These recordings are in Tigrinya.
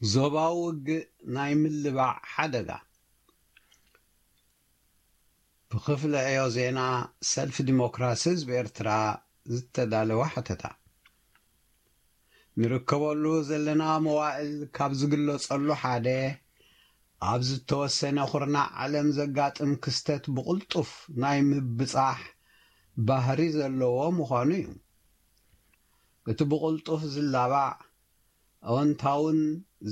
ዞባዊ ውግእ ናይ ምልባዕ ሓደጋ። ብክፍሊ ዕዮ ዜና ሰልፊ ዲሞክራሲ ህዝቢ ኤርትራ ዝተዳለወ ሓተታ። ንርከበሉ ዘለና መዋእል ካብ ዝግለጸሉ ሓደ፣ ኣብ ዝተወሰነ ኩርናዕ ዓለም ዘጋጥም ክስተት ብቕልጡፍ ናይ ምብጻሕ ባህሪ ዘለዎ ምዃኑ እዩ። እቲ ብቕልጡፍ ዝላባዕ፣ ኣወንታውን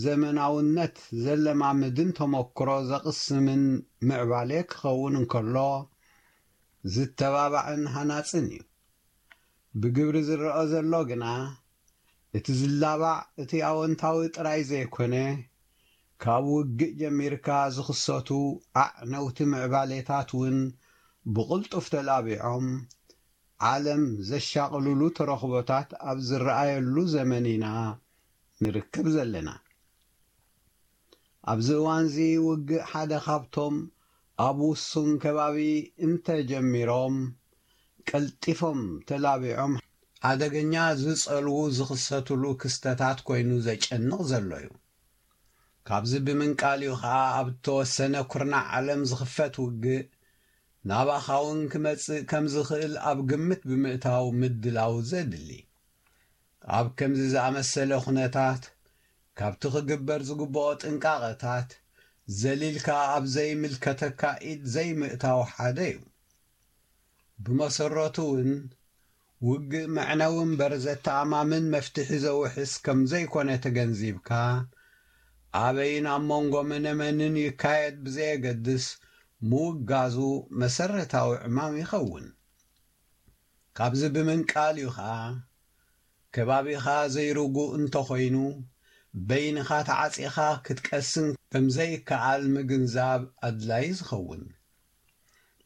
ዘመናውነት ዘለማምድን ተመክሮ ዘቕስምን ምዕባሌ ክኸውን እንከሎ፣ ዝተባባዕን ሃናጽን እዩ። ብግብሪ ዝረኣ ዘሎ ግና፣ እቲ ዝላባዕ እቲ ኣወንታዊ ጥራይ ዘይኮነ፣ ካብ ውግእ ጀሚርካ ዝኽሰቱ ኣዕነውቲ ምዕባሌታት እውን ብቕልጡፍ ተላቢዖም፣ ዓለም ዘሻቕልሉ ተረኽቦታት ኣብ ዝረኣየሉ ዘመን ኢና ንርከብ ዘለና። ኣብዚ እዋንዚ ውግእ ሓደ ካብቶም ኣብ ውሱን ከባቢ እንተጀሚሮም ቀልጢፎም ተላቢዖም ሓደገኛ ዝጸልዉ ዝኽሰትሉ ክስተታት ኮይኑ ዘጨንቕ ዘሎ እዩ። ካብዚ ብምንቃል እዩ ኸኣ ኣብ እተወሰነ ኩርናዕ ዓለም ዝኽፈት ውግእ ናባኻ እውን ክመጽእ ከም ዝኽእል ኣብ ግምት ብምእታው ምድላው ዘድሊ። ኣብ ከምዚ ዝኣመሰለ ኩነታት፣ ካብቲ ክግበር ዝግብኦ ጥንቃቐታት ዘሊልካ ኣብ ዘይምልከተካ ኢድ ዘይምእታው ሓደ እዩ። ብመሰረቱ እውን፣ ውግእ መዕነዊ እምበር ዘተኣማምን መፍትሒ ዘውሕስ ከም ዘይኮነ ተገንዚብካ፣ ኣበይን ኣብ መንጎ መነመንን ይካየድ ብዘየገድስ ምውጋዙ መሰረታዊ ዕማም ይኸውን። ካብዚ ብምንቃል እዩ ኸኣ፣ ከባቢኻ ዘይርጉእ እንተኾይኑ፣ በይንኻ ተዓጺኻ ክትቀስን ከም ዘይከኣል ምግንዛብ ኣድላዪ ዝኸውን።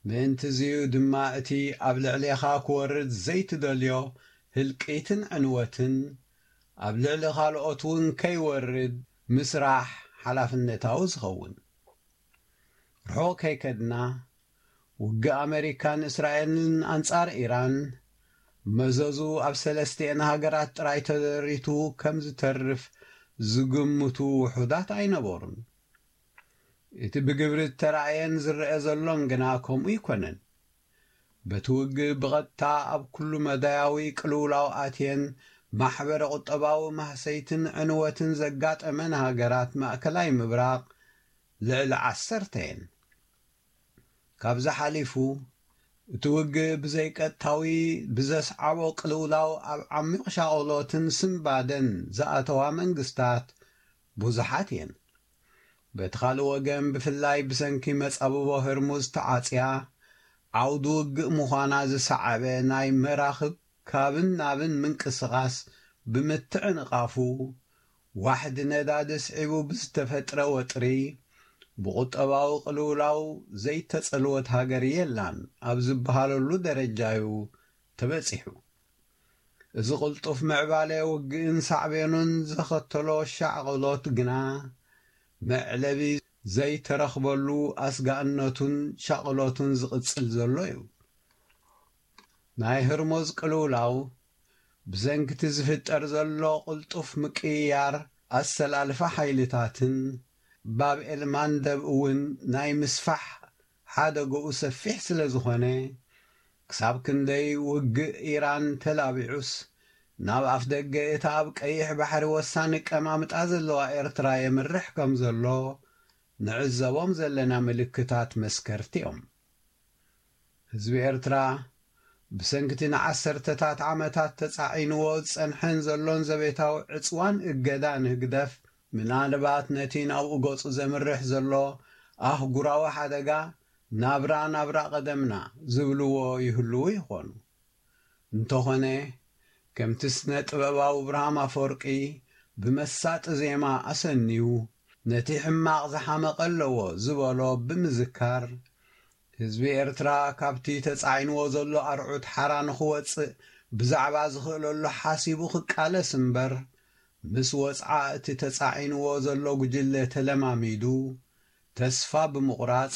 ምእንትዚ'ዩ ድማ እቲ ኣብ ልዕሌኻ ክወርድ ዘይትደልዮ ህልቂትን ዕንወትን ኣብ ልዕሊ ካልኦት እውን ከይወርድ ምስራሕ ሓላፍነታዊ ዝኸውን። ርሑቕ ከይከድና፣ ውግእ ኣመሪካን እስራኤልን ኣንጻር ኢራን፣ መዘዙ ኣብ ሰለስቲኤን ሃገራት ጥራይ ተደሪቱ ከም ዝተርፍ ዝግምቱ ውሑዳት ኣይነበሩን። እቲ ብግብሪ እተራእየን ዝረአ ዘሎን ግና ከምኡ ኣይኮነን። በቲ ውግእ ብቐጥታ ኣብ ኩሉ መዳያዊ ቅልውላው ኣትየን ማሕበረ ቁጠባዊ ማህሰይትን ዕንወትን ዘጋጠመን ሃገራት ማእከላይ ምብራቕ ልዕሊ ዓሰርተ እየን። ካብዚ ሓሊፉ፣ እቲ ውግእ ብዘይቀጥታዊ ብዘስዓቦ ቅልውላው ኣብ ዓሚቕ ሻቕሎትን ስንባደን ዝኣተዋ መንግስታት ብዙሓት እየን። በቲ ካልእ ወገን፣ ብፍላይ ብሰንኪ መጻብቦ ህርሙዝ ተዓጽያ ዓውዲ ውግእ ምዃና ዝሰዓበ ናይ መራኽብ ካብን ናብን ምንቅስቓስ ብምትዕንቓፉ፣ ዋሕዲ ነዳዲ ስዒቡ ብዝተፈጥረ ወጥሪ፣ ብቁጠባዊ ቅልውላው ዘይተጸልወት ሃገር የላን ኣብ ዝበሃለሉ ደረጃ'ዩ ተበጺሑ። እዚ ቅልጡፍ ምዕባለ ውግእን ሳዕቤኑን ዘኸተሎ ሻቕሎት ግና፣ መዕለቢ ዘይተረኽበሉ ኣስጋእነቱን ሻቕሎቱን ዝቕጽል ዘሎ እዩ። ናይ ህርሙዝ ቅልውላው፣ ብሰንኪ እቲ ዝፍጠር ዘሎ ቅልጡፍ ምቅይያር ኣሰላልፋ ሓይልታትን፣ ባብ ኤል ማንደብ እውን ናይ ምስፋሕ ሓደግኡ ሰፊሕ ስለ ዝኾነ፣ ክሳብ ክንደይ ውግእ ኢራን ተላቢዑስ፣ ናብ ኣፍደገ እታ ኣብ ቀይሕ ባሕሪ ወሳኒ ቀማምጣ ዘለዋ ኤርትራ የምርሕ ከም ዘሎ፣ ንዕዘቦም ዘለና ምልክታት መስከርቲ እዮም። ህዝቢ ኤርትራ፣ ብሰንኪ እቲ ንዓሰርተታት ዓመታት ተጻዒንዎ ዝጸንሐን ዘሎን ዘቤታዊ ዕጽዋን እገዳን ህግደፍ፣ ምናልባት ነቲ ናብኡ ገጹ ዘምርሕ ዘሎ ኣህጉራዊ ሓደጋ፣ ናብራ ናብራ ቀደምና ዝብልዎ ይህልዉ ይኾኑ። እንተኾነ፣ ከምቲ ስነ ጥበባዊ ብርሃም ኣፈወርቂ ብመሳጢ ዜማ ኣሰንዩ፣ ነቲ ሕማቕ ዝሓመቐ ኣለዎ ዝበሎ ብምዝካር፣ ህዝቢ ኤርትራ ካብቲ ተጻዒንዎ ዘሎ ኣርዑት ሓራ ንኽወጽእ ብዛዕባ ዝኽእለሉ ሓሲቡ ክቃለስ እምበር፣ ምስ ወጽዓ እቲ ተጻዒንዎ ዘሎ ጉጅለ ተለማሚዱ፣ ተስፋ ብምቑራጽ፣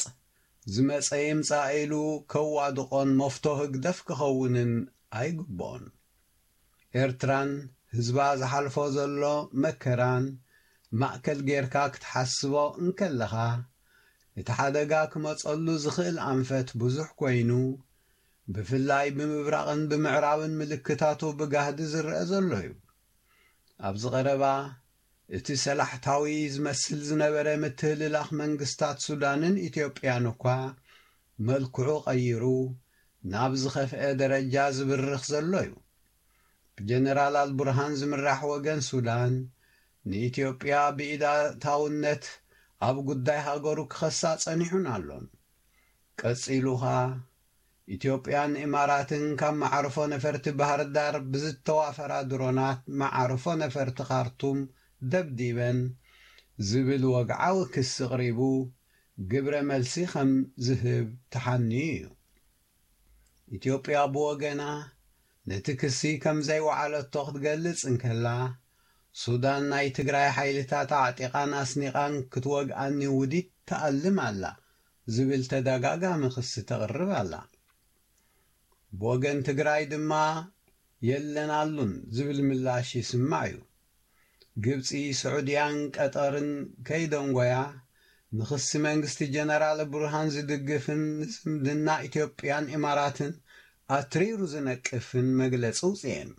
ዝመጸ ይምጻእ ኢሉ ከዋድቖን መፍቶ ህግደፍ ክኸውንን ኣይግብኦን። ኤርትራን ህዝባ ዝሓልፎ ዘሎ መከራን ማእከል ጌርካ ክትሓስቦ እንከለኻ፣ እቲ ሓደጋ ክመጸሉ ዝኽእል ኣንፈት ብዙሕ ኮይኑ፣ ብፍላይ ብምብራቕን ብምዕራብን ምልክታቱ ብጋህዲ ዝረአ ዘሎ እዩ። ኣብዚ ቀረባ፣ እቲ ሰላሕታዊ ዝመስል ዝነበረ ምትህልላኽ መንግስታት ሱዳንን ኢትዮጵያን እኳ መልክዑ ቀይሩ ናብ ዝኸፍአ ደረጃ ዝብርኽ ዘሎ እዩ። ብጀነራል ኣልቡርሃን ዝምራሕ ወገን ሱዳን፣ ንኢትዮጵያ ብኢዳታውነት ኣብ ጉዳይ ሃገሩ ክኸሳ ጸኒሑን ኣሎን። ቀጺሉ ኸኣ፣ ኢትዮጵያን ኢማራትን ካብ መዓርፎ ነፈርቲ ባህር ዳር ብዝተዋፈራ ድሮናት መዓርፎ ነፈርቲ ካርቱም ደብዲበን ዝብል ወግዓዊ ክሲ ኣቕሪቡ፣ ግብረ መልሲ ከም ዝህብ ተሓንዩ እዩ። ኢትዮጵያ ብወገና፣ ነቲ ክሲ ከም ዘይወዓለቶ ክትገልጽ እንከላ፣ ሱዳን ናይ ትግራይ ሓይልታት ኣዕጢቓን ኣስኒቓን ክትወግኣኒ ውዲት ትኣልም ኣላ ዝብል ተደጋጋሚ ክሲ ተቕርብ ኣላ። ብወገን ትግራይ ድማ፣ የለን ኣሉን ዝብል ምላሽ ይስማዕ እዩ። ግብጺ፣ ስዑድያን ቀጠርን ከይደንጎያ፣ ንኽሲ መንግስቲ ጀነራል ቡርሃን ዝድግፍን ንዝምድና ኢትዮጵያን ኢማራትን ኣትሪሩ ዝነቅፍን መግለጺ ኣውጺኤን።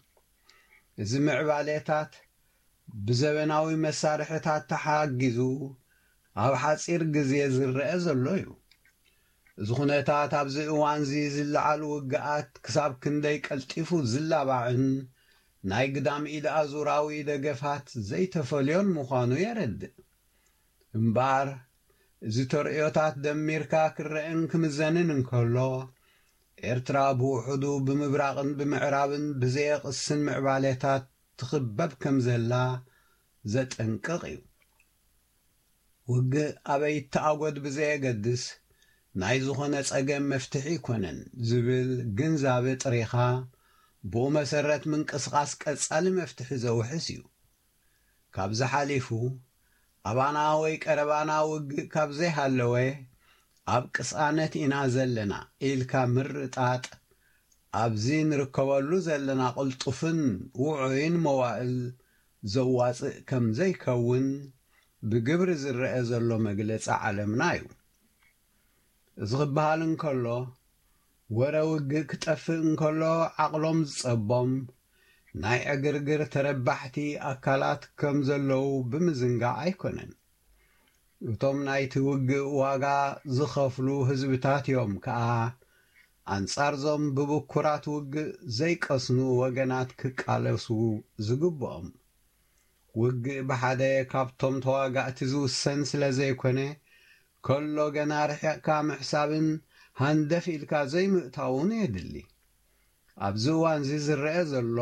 እዚ ምዕባሌታት ብዘበናዊ መሳርሕታት ተሓጊዙ ኣብ ሓጺር ግዜ ዝረአ ዘሎ እዩ። እዚ ኩነታት ኣብዚ እዋንዚ ዝለዓሉ ውግኣት ክሳብ ክንደይ ቀልጢፉ ዝላባዕን ናይ ግዳም ኢድ ኣዙራዊ ደገፋት ዘይተፈልዮን ምዃኑ የረድእ። እምበኣር፣ እዚ ተርእዮታት ደሚርካ ክረአን ክምዘንን እንከሎ፣ ኤርትራ ብውሑዱ ብምብራቕን ብምዕራብን ብዘየቕስን ምዕባሌታት ትኽበብ ከም ዘላ ዘጠንቅቕ እዩ። ውግእ ኣበይ ይተኣጎድ ብዘየገድስ፣ ናይ ዝኾነ ጸገም መፍትሒ ኣይኮነን ዝብል ግንዛበ ጥሪኻ፣ ብኡ መሰረት ምንቅስቓስ ቀጻሊ መፍትሒ ዘውሕስ እዩ። ካብዚ ሓሊፉ፣ ኣባና ወይ ቀረባና ውግእ ካብ ዘይሃለወ፣ ኣብ ቅሳነት ኢና ዘለና ኢልካ ምርጣጥ፣ ኣብዚ ንርከበሉ ዘለና ቅልጡፍን ውዑይን መዋእል ዘዋጽእ ከም ዘይከውን ብግብሪ ዝረአ ዘሎ መግለጺ ዓለምና እዩ። እዚ ክበሃል እንከሎ፣ ወረ ውግእ ክጠፍእ እንከሎ ዓቕሎም ዝጸቦም ናይ ዕግርግር ተረባሕቲ ኣካላት ከም ዘለዉ ብምዝንጋዕ ኣይኮነን። እቶም ናይቲ ውግእ ዋጋ ዝኸፍሉ ህዝብታት እዮም ከኣ፣ ኣንጻርዞም ብብኩራት ውግእ ዘይቀስኑ ወገናት ክቃለሱ ዝግብኦም። ውግእ ብሓደ ካብቶም ተዋጋእቲ ዝውሰን ስለ ዘይኮነ፣ ከሎ ገና ርሒቕካ ምሕሳብን ሃንደፍ ኢልካ ዘይምእታውን የድሊ። ኣብዚ እዋንዚ ዝረአ ዘሎ፣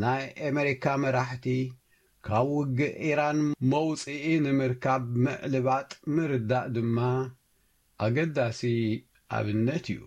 ናይ ኣመሪካ መራሕቲ ካብ ውግእ ኢራን መውጽኢ ንምርካብ ምዕልባጥ ምርዳእ ድማ ኣገዳሲ ኣብነት እዩ።